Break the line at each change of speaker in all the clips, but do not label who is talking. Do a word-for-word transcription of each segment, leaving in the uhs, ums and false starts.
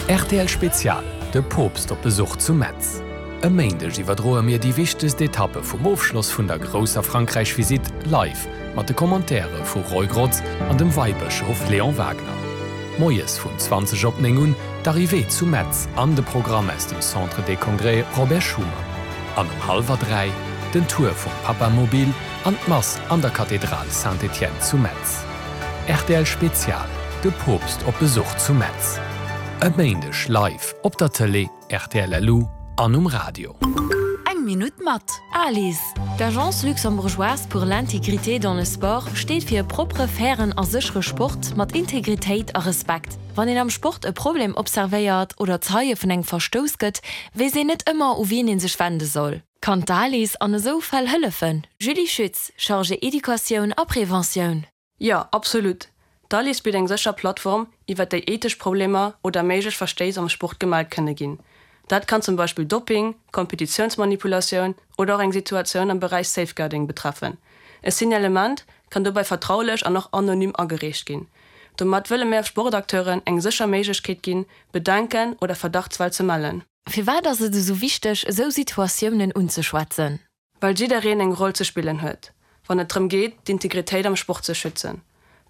Rtl Spezial, De Poopst op Besuch zu Metz. E Méindeg iwwerdroe mir déi wichtegst Etappe vum Ofschloss vun der grousser Frankräich-Visitt live mat de Commentaire vu Roy Grotz an dem Weibëschof Léon Wagner. Moies vun zwanzeg op néng un d'Arrivée zu Metz an de Programm aus dem Centre des Congrès Robert Schuman. An um hallwer dräi den Tour vum Papamobil an d'Mass an der Kathedral Saint-Étienne zu Metz. Rtl Spezial, De Poopst op Besuch zu Metz. E Méindeg live op der Tëlee, rtl LU an um Radio.
Eng Minutt mat ALIS. D'Agence luxembourgeoise pour l'intégrité dans le sport steet fir e proppere, fairen a séchere Sport mat Integritéit a Respekt. Wann een am Sport e Problem observéiert oder Zeie vun engem Verstouss gëtt, weess een net ëmmer u wien een sech wende soll. Kann d'ALIS an esou Fäll hëllefen? Julie Schütz, Chargée Educatioun a Preventioun.
Jo, absolut. D'ALIS bitt eng sécher Plattform, iwwer déi ethesch Problemer oder méiglech Verstéiss am Sport gemellt kënne ginn. Dat kann zum Beispill Doping, Kompetitiounsmanipulatioun oder och eng Situatioun am Beräich Safeguarding betreffen. E Signalement kann dobäi vertraulech an och anonym agereecht ginn. Domat wëlle mir Sportakteuren eng sécher Méiglechkeet ginn, Bedenken oder Verdachtsfäll ze mellen.
Firwat ass et esou wichteg, esou Situatiounen unzeschwätzen?
Well jiddereen eng Roll ze spillen huet, wann et drëm geet, d'Integritéit am Sport ze schützen.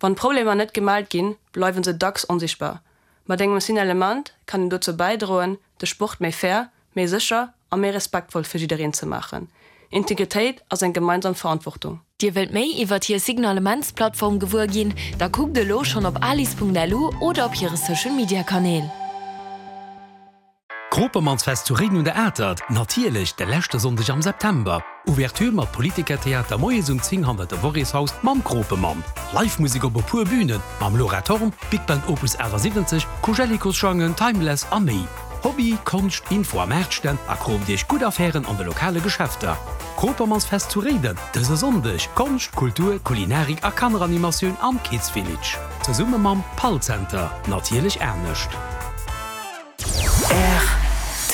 Wann Problemer net gemellt ginn, bleiwe se dacks onsichtbar. Mat engem Signalement kann een dozou bäidroen, de Sport méi fair, méi sécher a méi respektvoll fir jiddereen ze maachen. Integritéit ass eng gemeinsam Verantwortung.
Dir wëllt méi iwwert hir Signalementsplattform gewuer ginn? Da kuckt elo schonn op alis.lu oder op hire Social Media Kanäl.
Kropermannsfest zu Réiden un der Atert, natierlech de leschte Sonndeg am September. Ouverture mat Politikertheater moies um zéng hannert dem Worréshaus mam Kropemann. Live Musek op e puer Bünen mam Laura Thorn, Big Band Opus achtasiwwenzeg, Koujellikosschangen, Timeless a méi. Hobby, Konscht, Info a Maartstänn a kroomt iech gutt Affären an de lokale Geschäfter. Kropermannsfest zu Réiden dëse Sonndeg, Konscht, Kultur, Kulinarik a Kanneranimatioun am Kids Village. Zesumme mam Pall Center, natierlech anescht.
Rtl.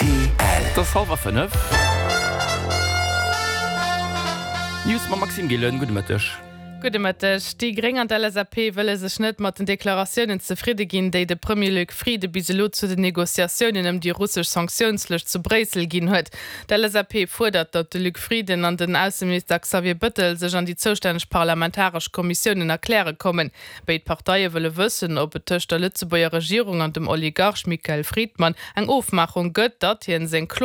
Et ass hallwer fënnef. D'News mam Maxime Gillen. Gudde Mëtteg.
Gudde Mëtteg. Déi Gréng an d'L S A P wëlle sech net mat den Deklaratiounen zefridde ginn, déi de Premier Luc Frieden bis elo zu den Negociatiounen ëm déi russesch Sanktiounslëscht zu Bréissel ginn huet. D'L S A P fuerdert, datt de Luc Frieden an den Ausseminister Xavier Bettel sech an déi zoustänneg parlamentaresch Kommissiounen erkläre kommen. Béid Parteie wëlle wëssen, ob et tëscht der Lëtzebuerger Regierung an dem Oligarch Michael Fridman eng Ofmaachung gëtt, datt hien seng Klo